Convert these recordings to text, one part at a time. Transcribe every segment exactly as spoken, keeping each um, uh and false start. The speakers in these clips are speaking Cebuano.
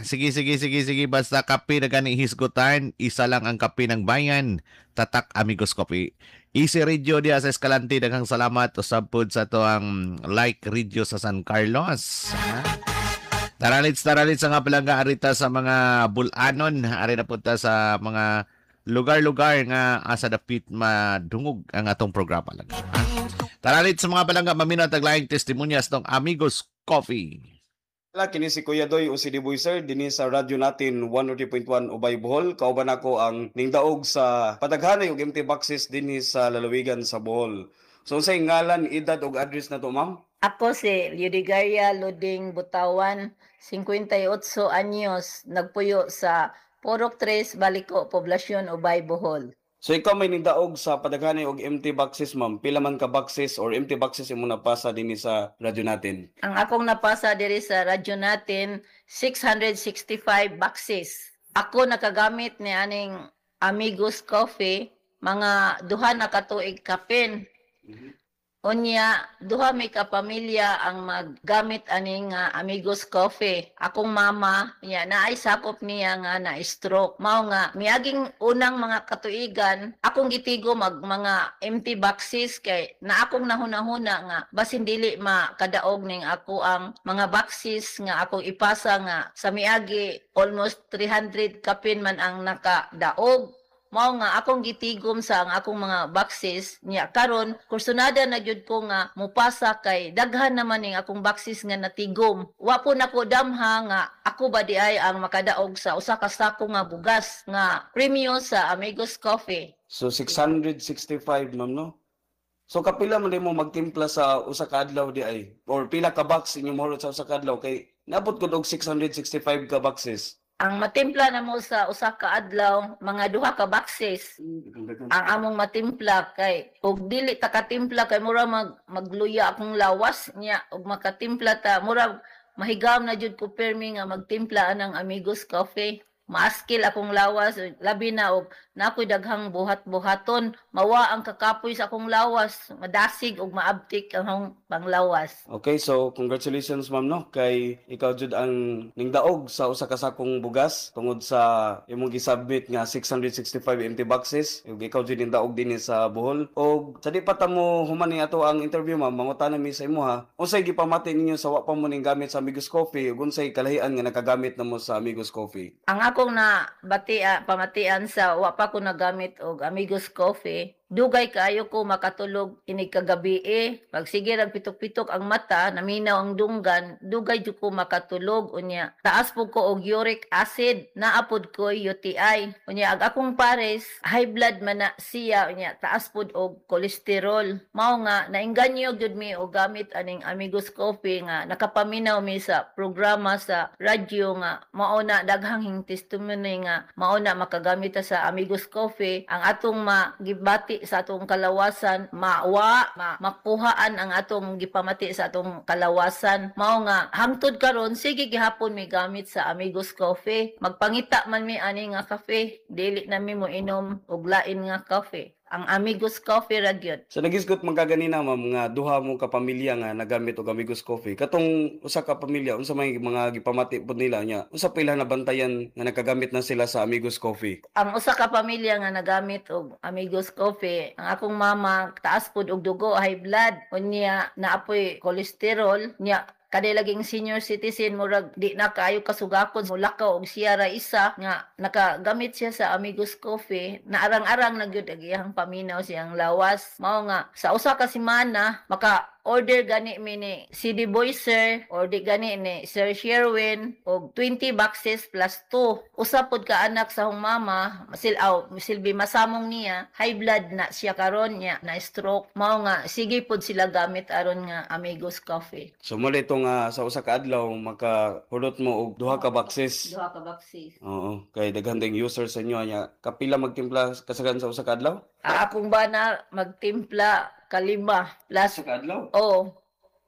Sige, sige, sige, sige. Basta kape na gani hisgutan. Isa lang ang kape ng bayan. Tatak Amigos Coffee. Easy Radio diya sa Escalante. Daghang salamat. Usab pod sa atoang Like Radio sa San Carlos. Ha? Taralits, taralits nga palangga arita sa mga bulanon. Ari na punta sa mga lugar-lugar nga asa dapit madungog ang atong programa lang. Ha? Taralits sa mga palangga, maminaw tag laing testimonyas tong Amigos Coffee. Wala, kini si Kuya Doy o si Diboy Sir dinhi sa radyo natin one oh three point one Ubay, Bohol. Kauban nako ang ningdaog sa padaghanay og empty boxes dinhi sa lalawigan sa Bohol. So unsay ngalan, edad ug address nato, ma'am? Ako si Leodegaria Luding Butawan, fifty-eight anyos, nagpuyo sa Purok tres, Baliko, Poblasyon, Ubay, Bohol. So ikaw may ningdaog sa padaghanay og empty boxes, ma'am. Pila man ka boxes or empty boxes imo napasa dinhi sa radyo natin? Ang akong napasa diri sa radyo natin, six hundred sixty-five boxes. Ako nakagamit ni aning Amigos Coffee, mga duha na ka tuig kapin. Unya, duha mi ka pamilya ang maggamit aning nga Amigos Coffee. Akong mama, niya naay sakop niya nga na stroke. Mao nga miaging unang mga katuigan, akong gitigo mag mga empty boxes kay na akong nahuna-huna nga basin dili makadaog ning ako ang mga boxes nga akong ipasa nga sa miagi almost three hundred kapin man ang nakadaog. Mao nga akong gitigom sa ang akong mga boxes niya. Karon kursunada na gyud ko nga mupasa kay daghan naman ning akong boxes nga natigom. Wa po nako damha nga ako ba di ay ang makadaog sa usa ka sako nga bugas nga premyo sa Amigos Coffee. So six hundred sixty-five, ma'am, no? So kapila man mo magtimpla sa usa ka adlaw di ay or pila ka box inyong mohurot sa usa ka adlaw kay naabot gud og six hundred sixty-five ka boxes? Ang matimpla na mo sa usa ka adlaw, mga duha ka boxes ang among matimpla kay ug dili ta katimpla kay mura mag magluya akong lawas niya. Ug makatimpla ta, mura mahigam na jud ko permi nga magtimpla anang Amigos Coffee. Maaskil akong lawas, labi na og nakoy daghang buhat-buhaton, mawa ang kakapoy sa akong lawas, madasig ug maabtik ang akong panglawas. Okay, so congratulations, ma'am, no, kay ikaw jud ang ningdaog sa usa ka sakong bugas tungod sa imong gisubmit nga six hundred sixty-five empty boxes ug ikaw jud ningdaog dinhi sa Bohol. Og sa di pa ta mo human ni ato ang interview, ma'am, mangutana mi sa imo ha. Unsay gipamati ninyo sa wa pa mo ning gamit sa Amigos Coffee ug unsay kalahian nga nakagamit na mo sa Amigos Coffee? Ang akong na batia pamatian sa wa pa ko nagamit og Amigos Coffee, dugay kaayo ko makatulog inig kagabi eh. Pag sige rag pitok-pitok ang mata, naminaw ang dunggan, dugay jud ko makatulog. Unya, taas po ko og uric acid, naa pod ko U T I. Unya, ag akong pares, high blood man na siya, unya, taas pod og cholesterol. Mao nga nainganyo gyud mi og gamit aning Amigos Coffee nga nakapaminaw mi sa programa sa radyo nga mao na daghang testimony nga mao na makagamit ta sa Amigos Coffee, ang atong magibati sa atong kalawasan mawa ma, makuhaan ang atong gipamati sa atong kalawasan. Mao nga hangtod karon sige gihapon mi gamit sa Amigos Coffee. Magpangita man mi ani nga kafe, dili na mi mo inom og lain nga kafe, ang Amigos Coffee ra gyud. So nagisgot man ka ganina, ma'am, nga duha mo ka pamilya nga nagamit og Amigos Coffee. Katong usa ka pamilya, unsa may mga gipamati pod nila nya? Unsa pa ila nabantayan nga nakagamit na sila sa Amigos Coffee? Ang usa ka pamilya nga nagamit og Amigos Coffee, ang akong mama taas pud og dugo, high blood, unya naapoy cholesterol nya. Kada laging senior citizen, murag di na kaayo kasugakon mulakaw og siya ra isa nga nakagamit siya sa Amigos Coffee, naarang-arang na gyud ang iyang paminaw siyang lawas. Mao nga sa usa ka semana maka order gani mi ni C D Boy Sir or di gani ni Sir Sherwin og twenty boxes plus two. Usa pod ka anak sa akong mama, masil aw silbi masamong niya, high blood na siya karon niya na stroke. Mao nga sige pod sila gamit aron nga Amigos Coffee. So mo ito nga sa usa ka adlaw makahulot mo og duha ka boxes. Duha ka boxes. Oo, kay daghan ding user sa inyo nya. Kapila magtimpla kasagan sa usa ka adlaw? Ang akong bana magtimpla kalima plus Usa ka adlaw? Oh,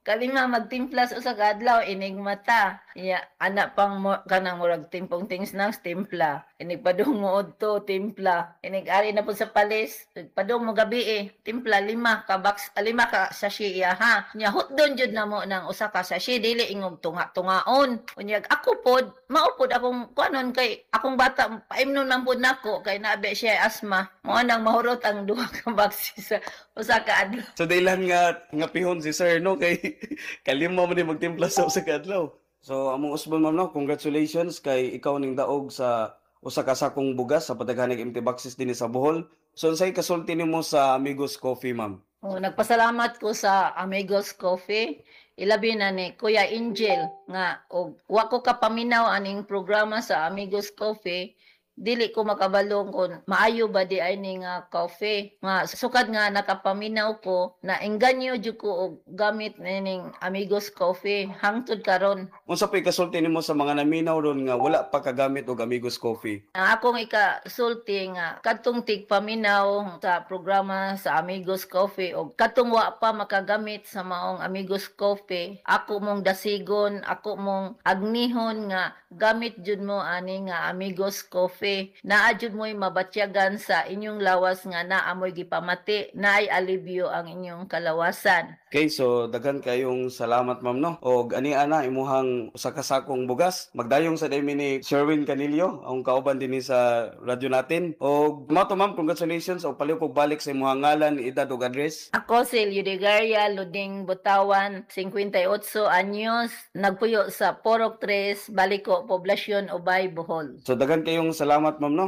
kalima magtimpla sa usa ka adlaw inig mata. Ya, ana pang mo, kanang murag timpong things nang timpla. Inig padung mo odto timpla. Inig ari na po sa palis, padung mo gabi eh, timpla lima ka box, ah, lima ka sachet iya ha. Nya hutdon jud namo ng usa ka sachet dili ingog tunga-tungaon. Unyag ako pod, mao pod akong kuanon kay akong bata paimnon man pod nako kay naabi siya asma. Mo nang mahurot ang duha ka box sa usa ka adlaw. So dailan nga nga pihon si sir no kay kalima man ni magtimpla sa usa ka adlaw. So among usbon ma'am no, congratulations kay ikaw ning daog sa usa ka sakong bugas sa padaghanig empty boxes dinhi sa Bohol. So unsay kasulti nimo sa Amigos Coffee ma'am? Oh, nagpasalamat ko sa Amigos Coffee. Ilabi na ni Kuya Angel nga og wa ko kapaminaw aning programa sa Amigos Coffee dili ko makabalo kung maayo ba di ay ni nga coffee nga sukad nga nakapaminaw ko na engganyo jud ko og gamit nining Amigos Coffee hangtod karon Unsa pay kasulti nimo sa mga naminaw ron nga wala pa kagamit og Amigos Coffee? Ang akong ikasulti nga kadtong tigpaminaw sa programa sa Amigos Coffee og kadtong wa pa makagamit sa maong Amigos Coffee ako mong dasigon ako mong agnihon nga gamit jud mo ani nga Amigos Coffee naa jud mo'y mabatyagan sa inyong lawas nga naa mo'y gipamati naay alibyo ang inyong kalawasan Okay, so daghan kayong salamat ma'am no. Og ani ana imuhang usa ka sakong bugas. Magdayong sa daymi ni Sherwin Canillo, ang kauban dinhi sa radyo natin. Og mao to ma'am, congratulations og palihog kog balik sa imuhang ngalan, edad ug address. Ako si Leodegaria Luding Butawan, fifty-eight anyos, nagpuyo sa Porok tres, Baliko, Poblasyon, Ubay, Bohol. So daghan kayong salamat ma'am no.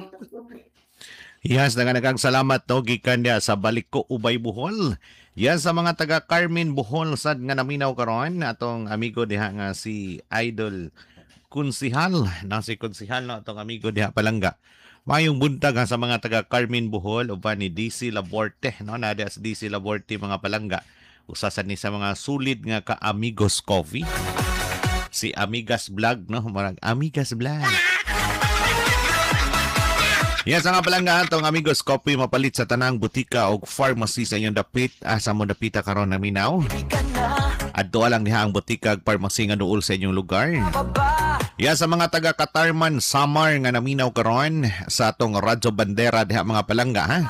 Yes, naganagang salamat no gikan niya sa Baliko Ubay Bohol. Yan sa mga taga Carmen Bohol sad nga naminaw karon atong amigo diha nga si Idol Kunsihal, na si Kunsihal no atong amigo diha palangga. Mayong buntag ha sa mga taga Carmen Bohol uban ni D C Laborte no na diha sa D C Laborte mga palangga. Usa sad ni sa mga sulit nga ka Amigos Coffee. Si Amigas Vlog no, marag Amigas Vlog. Yes, nga palangga atong Amigos Coffee mapalit sa tanang butika og pharmacy sa inyong dapit. Asa mo dapita karon naminaw? Adto lang diha ang butika ug pharmacy nga duol sa inyong lugar. Yes, sa mga taga Katarman, Samar nga naminaw karon sa atong Radyo Bandera diha mga palangga ha.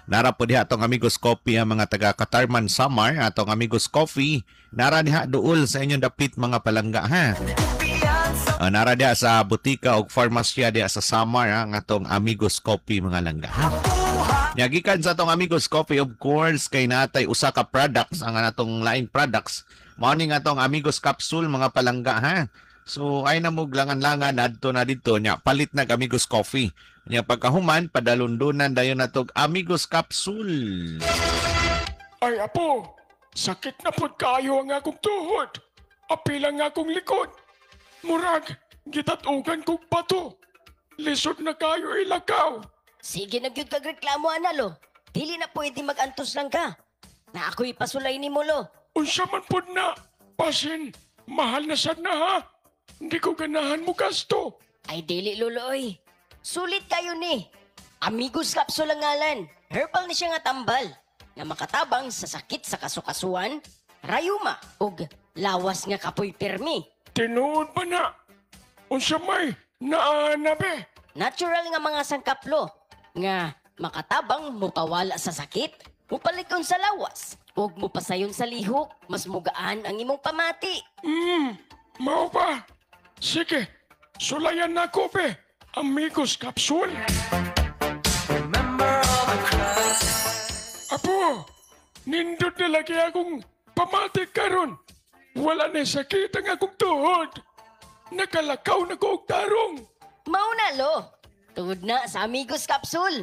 Nara po diha atong Amigos Coffee ang mga taga Katarman, Samar, atong Amigos Coffee nara diha duol sa inyong dapit mga palangga ha. Uh, nara diha sa butika og farmasya diha sa Samar ha, ang atong Amigos Coffee mga langga. Nya gikan sa atong Amigos Coffee of course kay natay usa ka products ang atong laing products. Mao ni nga atong Amigos Capsule mga palangga ha. So ay na mo langan-langan adto na didto nya palit nag Amigos Coffee. Nya pagkahuman padalundunan dayon natog Amigos Capsule. Ay apo, sakit na pud kaayo ang akong tuhod. Apil ang akong likod. Murag, gitatugan kog bato. Lisod na kayo ilakaw. Sige na gyud kag reklamo ana lo. Dili na pwede mag-antos lang ka. Na ako'y pasulay nimo lo. Unsa man pud na? Pasin, mahal na sad na ha. Hindi ko ganahan mo gasto. Ay dili lolo oy. Sulit kayo ni. Amigos Capsule ang ngalan. Herbal ni siya nga tambal. Na makatabang sa sakit sa kasukasuan, rayuma ug lawas nga kapoy pirmi. Tinuod ba na? Unsa may naana be? Natural nga mga sangkaplo nga makatabang mupawala sa sakit, mupalikon sa lawas, ug mupasayon sa lihok, mas mugaan ang imong pamati. Hmm, mao ba? Sige, sulayan na ko be. Amigos Capsule. Apo, nindot na lagi akong pamati karon. Wala na sakit ang akong tuhod. Nakalakaw na ko og tarong. Mao na lo. Tuhod na sa Amigos Capsule.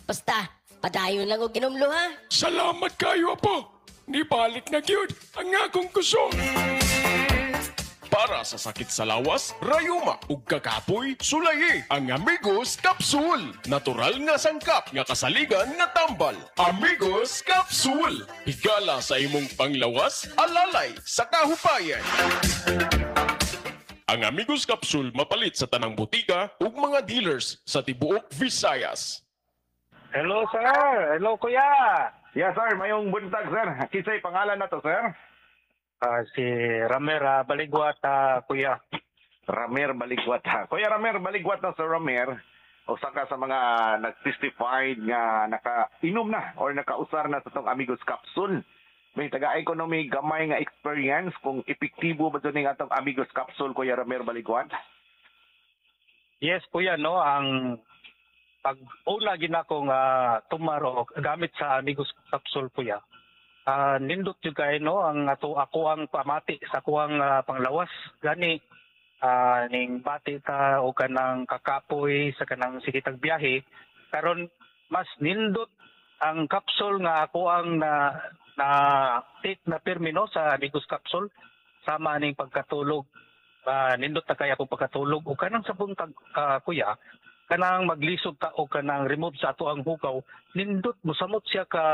Basta, padayon lang og ginomlo ha. Salamat kayo, apo. Nibalik na gyud ang akong kusog. Para sa sakit sa lawas, rayuma ug kakapoy, sulayi ang Amigos Capsule. Natural nga sangkap nga kasaligan nga tambal. Amigos Capsule. Higala sa imong panglawas, alalay sa kahupayan. Ang Amigos Capsule mapalit sa tanang butika ug mga dealers sa tibuok Visayas. Hello sir, hello kuya. Yes sir, mayong buntag sir. Kisay pangalan na to sir? Ah, si Ramer ah, Baligwat, ah, kuya. Ramer Baligwat ha. Kuya Ramer Baligwat na sa Ramer, usa ka sa mga nag-testified nga naka-inom na or nakausar na sa tong Amigos Capsule. May taga economy gamay nga experience kung epektibo ba ning atong Amigos Capsule, Kuya Ramer Baligwat? Yes, kuya, no, ang pag una ginako nga tumaro gamit sa Amigos Capsule, kuya. Ah, nindot jud kay no ang ato ako ang pamati sa kuang ah, panglawas gani ah, ning bati ta o kanang kakapoy sa kanang sige tag biyahe karon, mas nindot ang capsule nga ako ang na na take na pirmi no sa Amigos Capsule sama ning pagkatulog. Ah, nindot na kaya akong pagkatulog o kanang sa buntag, ah, kuya, kanang maglisod ta o kanang remove sa ato ang hugaw, nindot mosamot siya ka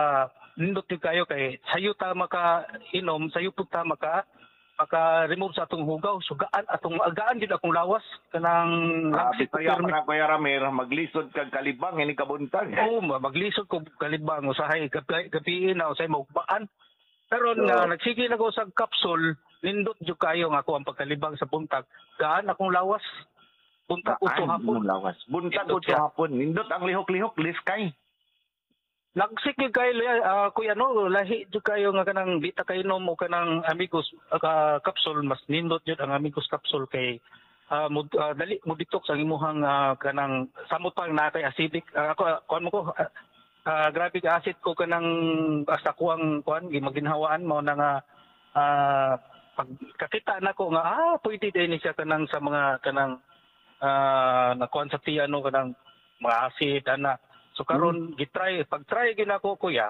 nindot gyud kayo kay sayo ta maka inom, sayo pud ta maka maka remove sa atong hugaw, so gaan atong gaan gid akong lawas kanang Ah, langsik ko Bisaya pirmi. pa na, Kuya Ramer, maglisod kag kalibang ini kabuntag. Oo, ma- maglisod ko kalibang usahay gabi, gabi na usahay maugmaan. Karon So- nga nagsige na ko sa capsule, nindot jud kayo nga ako ang pagkalibang sa buntag. Gaan akong lawas. Buntag uto Gaan hapon. imong lawas. Buntag Nindot uto siya. hapon. Nindot ang lihok-lihok, liskay. Lagsik gyud kayo ah, kuya no, lahi jud kayo nga kanang di ta kainom o kanang Amigos ah, capsule, mas nindot jud ang Amigos Capsule kay ah, mo, ah, dali mo detox ang imuhang ah, kanang samot pa na kay acidic. Ah, ako ah, kuan mo ko ah, ah, grabe ka acid ko kanang hasta kuang kuan maginhawaan mo na nga ah, pag kakita nako nga ah pwede din ni siya kanang sa mga kanang ah nakuan sa tiyan no kanang mga acid ana. So karon gitry pag try ginako, kuya,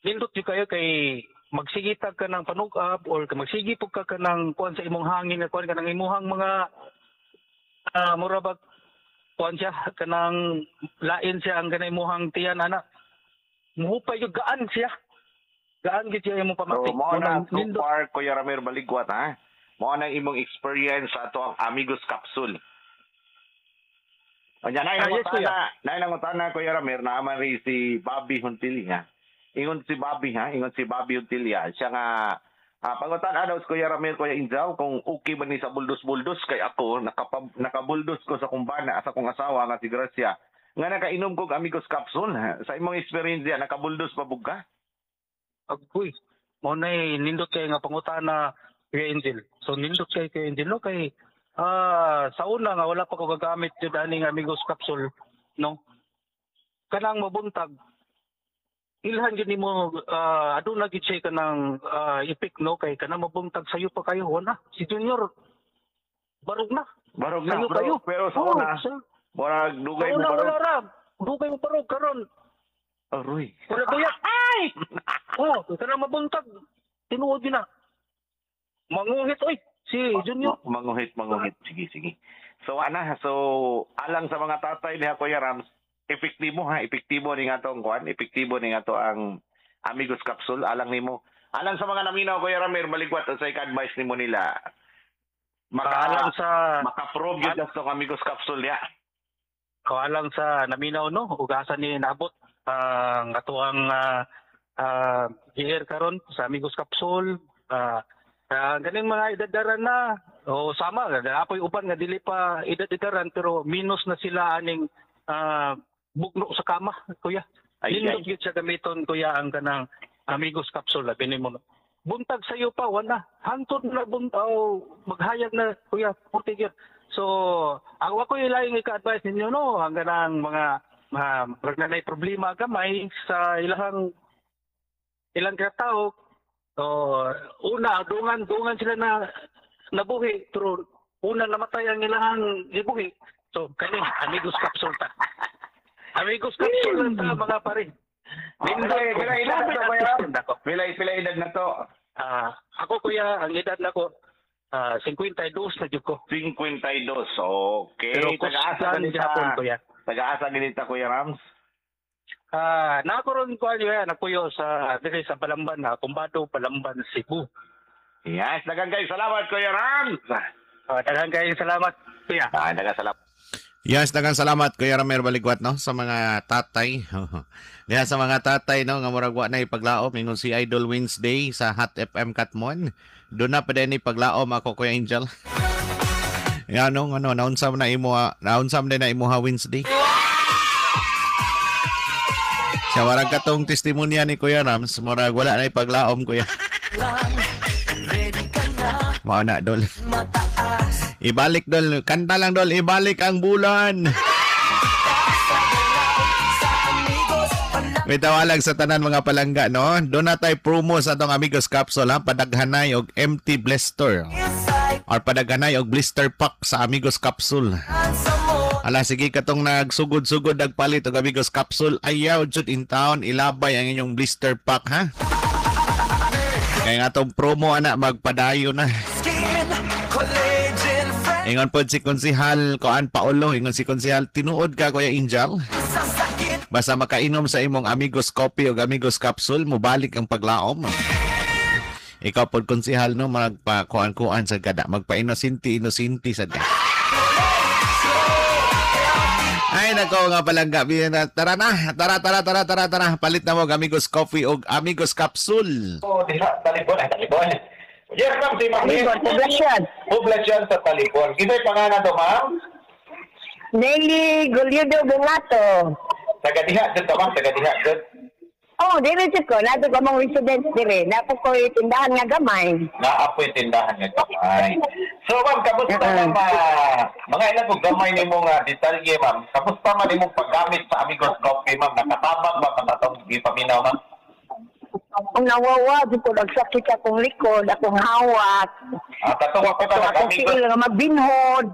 nindot jud kayo kay magsigitag ka ng panug-ab or magsigi pug ka kanang kuan sa imong hangin nga kuan kanang imuhang mga ah mura bag kuan siya kanang lain siya ang kanang imuhang tiyan ana, muhupay gyud, gaan siya, gaan gyud siya imong pamati. So, mao na Munang so nindot. far, Kuya Ramer Baligwat, ha? Mao na imong experience sa ato ang Amigos Capsule. Anya nay Ah, yes, kuya. nangutana, nay nangutana, Kuya Ramer, naaman rin si Bobby Huntilia. Ingon si Bobby ha, ingon si Bobby Huntilia. Siya nga ah, pangutan daw si Kuya Ramer, Kuya Injaw, kung okay ba ni sa buldos-buldos kay ako nakapa, nakabuldos ko sa kumbana sa akong asawa nga si Gracia nga nakainom kog Amigos Capsule. Sa imong experience diya, nakabuldos pa bug ka? Agoy. Mao na nindot kay nga pangutana, Kuya Angel. So nindot kay Kuya Angel no kay ah sa una nga wala pa ko gagamit jud aning Amigos Capsule no. Kanang mabuntag ilhan gyud nimo ah, aduna gyud siya kanang uh, ipik no kay kanang mabuntag sayo pa kayo wala si Junior, barog na. Barog na, Sayo pero, kayo. pero sa Oh, una, sa, murag dugay sa mo una barog. wala ra, dugay mo barog karon. Aroy. Wala kuya. Ay! Oh, kanang mabuntag tinuod gyud na. Manguhit oy si Junior. Ma- Manguhit, manguhit. Sige, sige. So, ana, so, alang sa mga tatay niya, Kuya Rams, epektibo ha, epektibo ni nga tong kuan, epektibo ni nga to ang Amigos Capsule, alang nimo. Alang sa mga naminaw, Kuya Ramir, maligwat sa advice nimo nila. Maka, Alang sa maka-prove yun tong Amigos Capsule ya. Alang sa naminaw no ug asa ni naabot ang atoang uh, uh, G R karon sa Amigos Capsule, uh, uh, ganing mga edadaran na o sama apoy uban nga dili pa edad-edaran pero minus na sila aning ah, bugno sa kama, kuya. Ay, Nindot ay. gyud siya gamiton, kuya, ang kanang Amigos Capsule. Labi nimo no. Buntag sayo pa wala hantod na bunt oh, maghayag na, kuya, purti gyud. So ang wa ko ilaing ika-advise ninyo no ang kanang mga uh, nanay problema gamay sa ilahang ilang katao. So una dungan dungan sila na nabuhi pero una namatay ang ilahang gibuhi. So kani Amigos Capsule ta, Amigos Capsule lang ta, mga pare. Pila pila edad na to, Kuya Ram? Pila pila edad na to? Ah, ako, kuya, ang edad na ko ah singkwenta y dos na jud ko. singkwenta y dos. Okay. Pero Taga-asa kusgan ganita. gihapon, kuya. Taga-asa ganita, Kuya Rams. Ah, na ako ron ko kuya, nagpuyo sa diri sa Balamban na Kumbado, Balamban, Cebu. Yes, daghang kayo salamat, Kuya Rams. Ah, daghang kayong salamat, kuya. Ah, daghang salamat. Yes, daghang salamat Kuya Ramer Baligwat no sa mga tatay. Diha sa mga tatay no nga murag wa na ipaglaom ingon si Idol Wednesday sa Hot F M Katmon. Doon na pa din ipaglaom ako Kuya Angel. Ya no ano naunsa man na imo naunsa man na imo ha Wednesday. Sa warag katong testimonya ni Kuya Rams, murag wala na ipaglaom kuya. Mao na dol. Ibalik dol, kanta lang dol, ibalik ang bulan. May tawalag sa tanan mga palangga no. Doon na tayo promo sa atong Amigos Capsule ha, padaghanay og empty blister. Or padaghanay og blister pack sa Amigos Capsule. Ala sige katong nagsugod-sugod nagpalit og Amigos Capsule, ayaw jud in town ilabay ang inyong blister pack ha. Kaya nga atong promo ana magpadayo na. Ingon po si Konsihal Koan Paolo, ingon si Konsihal, tinuod ka Kuya Angel. Basta makainom sa imong Amigos Coffee o Amigos Capsule, mubalik ang paglaom. Ikaw po Konsihal no, magpa-kuan-kuan sa kada, magpa-inosinti-inosinti sa kada. Ay nako nga palangga, tara na, tara tara tara tara tara, palit na mo og Amigos Coffee o Amigos Capsule. Oh, diha, talibon, ay talibon. Yes, ma'am, si Ma'am. Poblasyon. Poblasyon sa Talibon. Kinsa pangalan to, ma'am? Nelly Goliudo Bungato. Taga diha jud to, ma'am, taga diha jud. Oh, diri jud ko, nato ko mong residence diri. Napo koy tindahan nga gamay. Naapoy tindahan nga gamay. So, ma'am, kamusta uh-huh. ma'am, uh, mga ilan kog gamay nimo nga detalye, ma'am. Kamusta man imong paggamit sa Amigos Coffee, ma'am? Nakatabang ba katong gipaminaw, ma'am? Ang nawawa, di ko nagsakit akong likod, akong hawak. Ah, katong ako ka akong tiil nga magbinhod.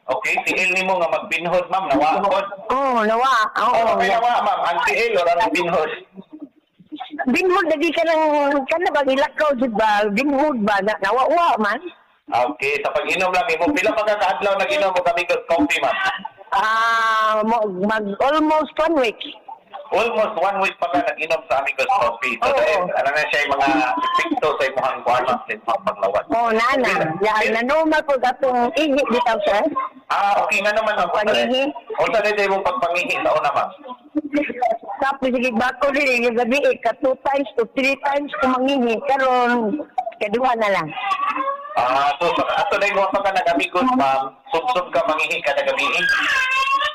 Okay, tiil nimo nga magbinhod, ma'am, nawaod. Oo, oh, nawa. Oo. Oh, okay, nawa, ma'am. Ang tiil o ang binhod? Binhod, lagi ka nang, ka na ba, ilakaw, di ba? Binhod ba? Nawawa, man. Okay, sa pag-inom lang, mo, pila pa ka kaadlaw nag-inom mo Amigos Coffee, ma'am? Ah, mag, almost one week. Almost one week pa ka nag-inom sa Amigos Coffee. So, oh, dahil, ano na siya yung mga epekto sa imuhang kuwan, sa imuhang paglawas. Oo, oh, nana. Yan, na-normal po atong ihi dito, sir. Ah, okay nga naman, ma'am. Pangihi. O, saan ito yung pagpangihi sa una, ma'am? Tapos, sige, bako rin, yung gabi, eh, ka two times to three times kumangihi. Karon, kaduha na lang. Ah, so, ato na yung pa ka nag-amigos, ma'am. Sub-sub ka, mangihi ka na gabi.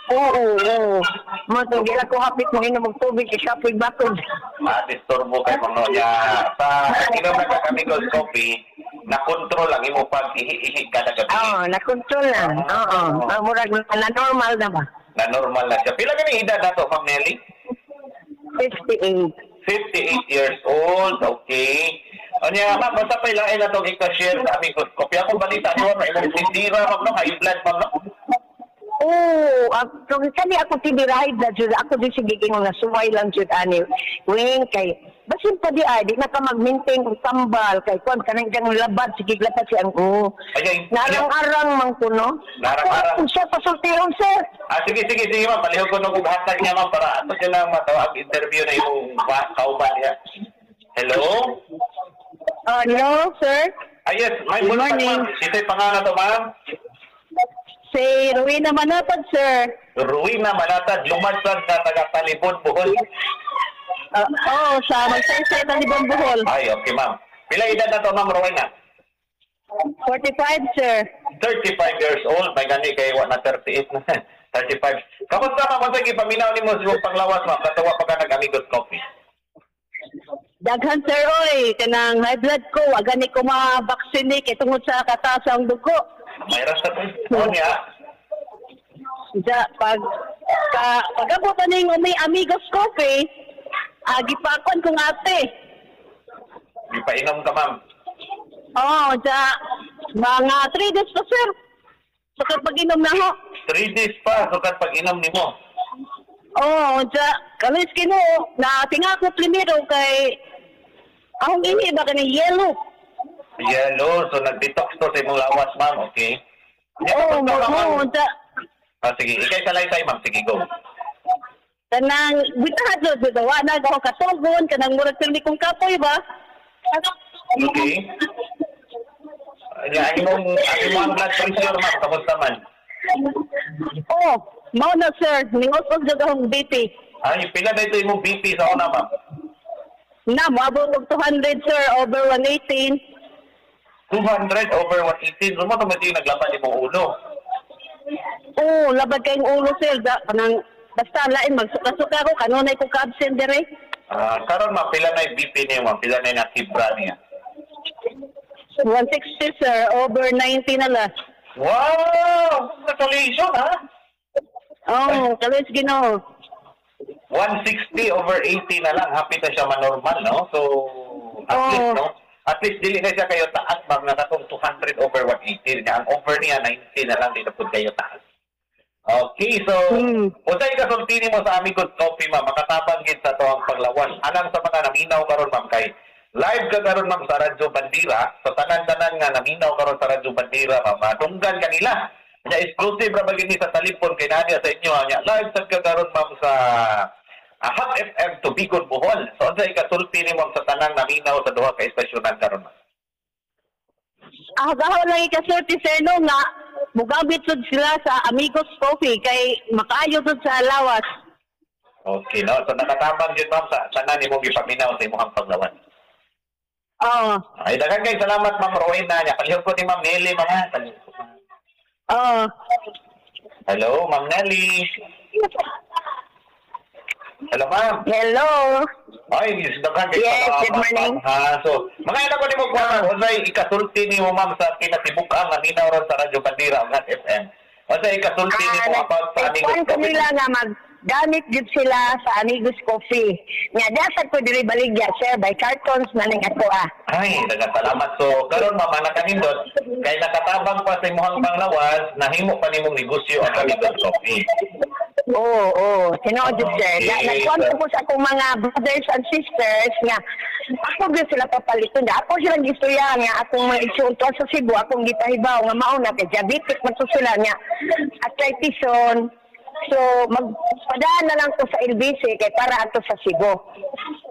Oo, oo. Mo to gila ko hapit mo inom og tubig kay kapoy bakod. Ah, disturbo kay mo niya. Sa inom na ka Amigos Coffee, na-control ang imo pag-ihi-ihi kada gabi. Oo, na-control na. Oo. Ah, murag na normal na ba? Na normal na siya. Pila gani edad nato, Ma'am Nelly? fifty-eight. fifty-eight years old. Okay. Anya, ma'am, basta pa ilain na itong ika-share sa Amigos Coffee. Akong balita niyo, ma'am, imong tindira, ma'am, no? High blood, ma'am, no? Oo, oh, kani ako tinirahay na jud ako di sige nga nasuway lang jud ani. Wing kay basin pa di ay di na ka mag-maintain og tambal kay kuan kanang kang labad sige labad si ang oh. Narang-arang man kuno. Narang-arang. Siya pasultihon sir. Ah sige sige sige ma'am, palihog ko og hatag niya ma'am para ato siya lang matawag interview na imong kauban niya. Hello? Uh, hello sir. Ah yes, may good morning. Ito'y pangalan to ma'am. Si Rowena Manatad, sir. Rowena Manatad, lumansad na taga Talibon, Bohol. Oo, uh, oh, sa Magsaysay, Talibon, Bohol. Ay, okay, ma'am. Pila edad na to, ma'am Rowena? forty-five, sir. thirty-five years old. May gani kay wa na thirty-eight na. thirty-five. Kamusta, ma'am? Kung ipaminaw ni mo sa panglawas, ma'am, katawa pa ka nag-Amigos Coffee. Daghan, sir, oy. Kanang high blood ko, wa gani ko ma-vaccine kay tungod sa kataas ang dugo. May rasta po. Oh, niya. Ja, pag ka, pag-abot na ning umi Amigos Coffee, ah, gipakon kong ate. Gipainom ka, ma'am. Oo, oh, ja, mga three days pa, sir. Sukat pag-inom na ho. three days pa, sukat pag-inom nimo. Oo, oh, ja, kalis kino, na tingako primero kay akong ihi ba kani yellow. Yellow, so nag-detox to sa imong lawas, ma'am, okay? Oo, oo, ja. Ah, sige, ikay salaysay, ma'am. Sige, go. Kanang, bitahan jud, wa na ako katugon, kanang murag pirmi kong kapoy ba? Okay. Ang imong, ang imong blood pressure, ma'am, kamusta man? Oh, mao na sir, ningos-os jud akong B P. Ay, pila na ito imong B P sa una, ma'am? Na, moabot og two hundred sir, over one eighteen. two hundred over one eighteen. So, mao to naglabad imong ulo. Oo, labad kayong ulo sir. Da, kanang, basta lain, magsuka-suka ko, kanunay ko ka-absent dire. Ah, karon ma'am, pila na yung B P niya, ma'am? Pila na yung nakibra niya? one sixty sir, over ninety na lang. Wow! Congratulations, ha? Oo, oh, kalis Ginoo. one sixty over eighty na lang. Happy na siya manormal, no? So, at Oo. least, no? At least, dili na siya kayo taas, ma'am, na katong two hundred over one eighty. Niya. Ang over niya, ninety na lang, di na po kayo taas. Okay, so, Hmm. unsay kasulti nimo sa Amigos Coffee, ma'am? Makatabang gid sa atoang panglawas. Alang sa mga naminaw karon, ma'am, kay live ka karon, ma'am, sa Radyo Bandila. Sa tanan-tanan nga naminaw karon sa Radyo Bandila, ma'am, madunggan kanila. Nya exclusive ra ba gini sa Talibon kay naa sa inyo nya. Live sad ka karon, ma'am, sa uh, Hot F M Tubigon, Bohol. So unsay kasulti nimo, ma'am, sa tanang naminaw sa duha ka estasyonan karon, ma'am? Ah, gaho lang ikasulti sir no nga mugamit sud sila sa Amigos Coffee kay makaayo sud sa lawas. Okay, no? So nakatabang jud, ma'am, sa tanan nimong gipaminaw sa imong panglawas. Oo. Ay, daghan kay salamat, Ma'am Rowena. Nya palihog ko ni Ma'am Nelly, ma'am. Ha? Palihog ko. Oo. Hello, Ma'am Nelly. Hello, ma'am. Hello. Ay, yes, daghan kay Yes, salamat, good morning. ma'am, ha? So, mga anak ko nimo kuha, ma'am, unsay ikasulti nimo, ma'am, sa kinatibuk-ang nga minaw ron sa Radyo Bandila ug Hot F M? Unsay ikasulti nimo about sa Amigos Kuan ko Coffee? nila nga maggamit jud sila sa Amigos Coffee. Nga dasad ko diri baligya sir by cartons na ning ato ah. Ay, daghang salamat. So, karon, ma'am, nakanindot kay nakatabang pa sa imong panglawas, nahimo pa nimong negosyo ang Amigos Coffee. Oo, oo. Tinuod jud sir. Okay. Na, nagkuan ko po sa akong mga brothers and sisters nga ako gyud sila papaliton. Ako silang gistorya nga akong mga igsoon sa Cebu, akong gipahibaw nga mao na kay diabetic man to sila nga arthritis. So magpadaan na lang ko sa L B C kay para ato sa Cebu.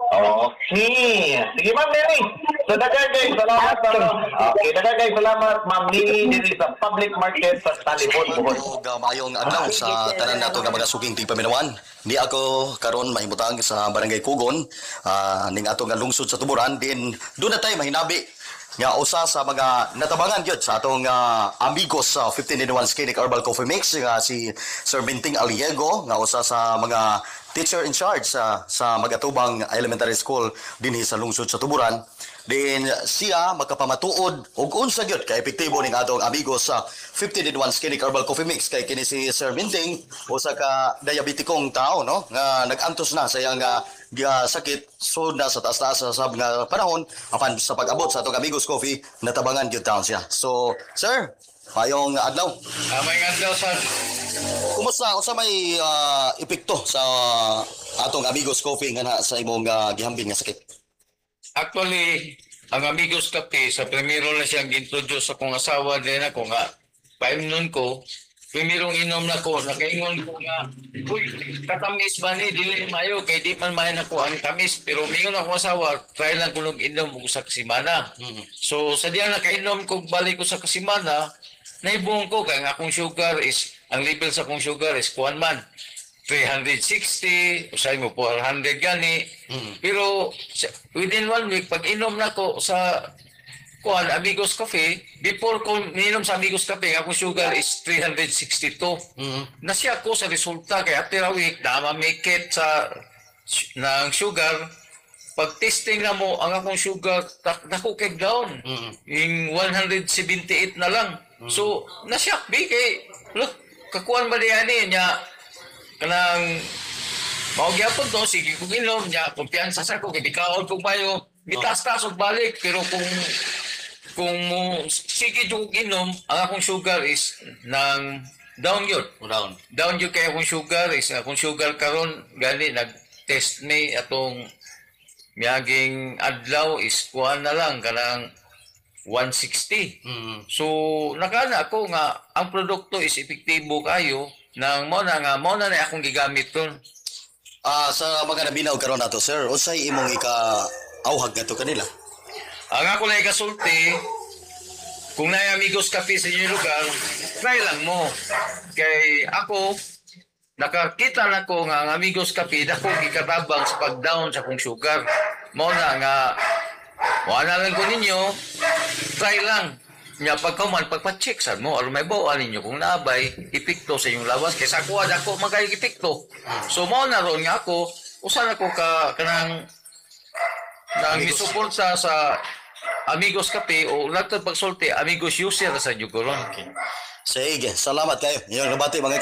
Okay. Sige, Ma'am Mary. So, daghan kay salamat, ma'am. Okay, daghan kay salamat, Ma'am Lily, diri sa public market sa Talibon, Bohol. Ug uh, maayong adlaw sa tanan nato nga mga suking tigpaminawan. Ni ako karon mahimutang sa Barangay Kugon, uh, ning ato nga lungsod sa Tuburan din doon na tayo mahinabi nga usa sa mga natabangan gyud sa atong uh, amigos sa fifteen in one Skinny Herbal Coffee Mix nga si Sir Minting Aliego nga usa sa mga teacher in charge sa sa Magatubang Elementary School dinhi sa lungsod sa Tuburan. Din siya makapamatuod og unsa gyud ka epektibo ning atong amigos sa fifteen in one Skinny Herbal Coffee Mix kay kini si Sir Minting usa ka diabetikong tao, no, nga nag-antos na sa iyang uh, sakit, so na sa taas-taas sa sab nga panahon, apan sa pag-abot sa atong Amigos Coffee natabangan gyud taon siya. So sir, maayong adlaw. Ah, maayong adlaw sir. Kumusta, unsa may uh, epekto sa atong Amigos Coffee nga na sa imong uh, gihambin nga sakit? Actually, ang Amigos Kape, sa primero na siyang gintroduce sa akong asawa din ako nga, paimnon ko, primerong inom na ko, nakaingon ko nga, "Uy, katamis ba ni, dili mayo, kay di man mayo nako ang tamis," pero mingon ako asawa, try lang ko nung inom og usa ka semana. So, sa diya nakainom ko, balik ko sa kasimana, naibuong ko, kaya ang akong sugar is, ang level sa akong sugar is kuan man, three hundred sixty, usay mo four hundred gani. Pero sa- within one week, pag inom na ko sa kuan Amigos Coffee, before ko ninom sa Amigos Coffee, akong sugar is three hundred sixty-two. Nasiya ko sa resulta kay after a week, na mamikit sa ng sugar. Pag testing na mo, ang akong sugar, tak- dako kay down. Yung one hundred seventy-eight na lang. So, nasyak bi kay, look, kakuan ba diyan niya, kanang mao gyapon to, sige kong inom niya, kumpiyansa sa ko kay bikaon kog mayo, mitaas-taas og balik, pero kung kung mo sige jud kog inom, ang akong sugar is nang down yun. Down. Down yun kay akong sugar is akong sugar karon gani nag-test ni atong miaging adlaw is kuan na lang kanang one sixty. So nakana ako nga ang produkto is epektibo kayo nang mo na nga mo na na akong gigamit ron. Ah, sa mga naminaw karon nato sir, unsay imong ika auhag ngadto kanila? Ang ako na ikasulti, kung naay Amigos Cafe sa inyong lugar, Try lang mo. Kay ako, nakakita na ko nga ang Amigos Kape dako gikatabang sa pag-down sa akong sugar. Mao na nga wala lang ko ninyo, try lang. Nya pagkaman pagpa-check sad mo aron mahibaw-an ninyo kung naabay epekto sa inyong lawas kay sa kuha dako man kay epekto. So mao na ron nga ako usa na ko ka kanang nang misuporta sa Amigos Kape o latod pagsulti Amigos user sa jud ko ron. Okay. Sige, salamat kayo. Inyong nabati, mga.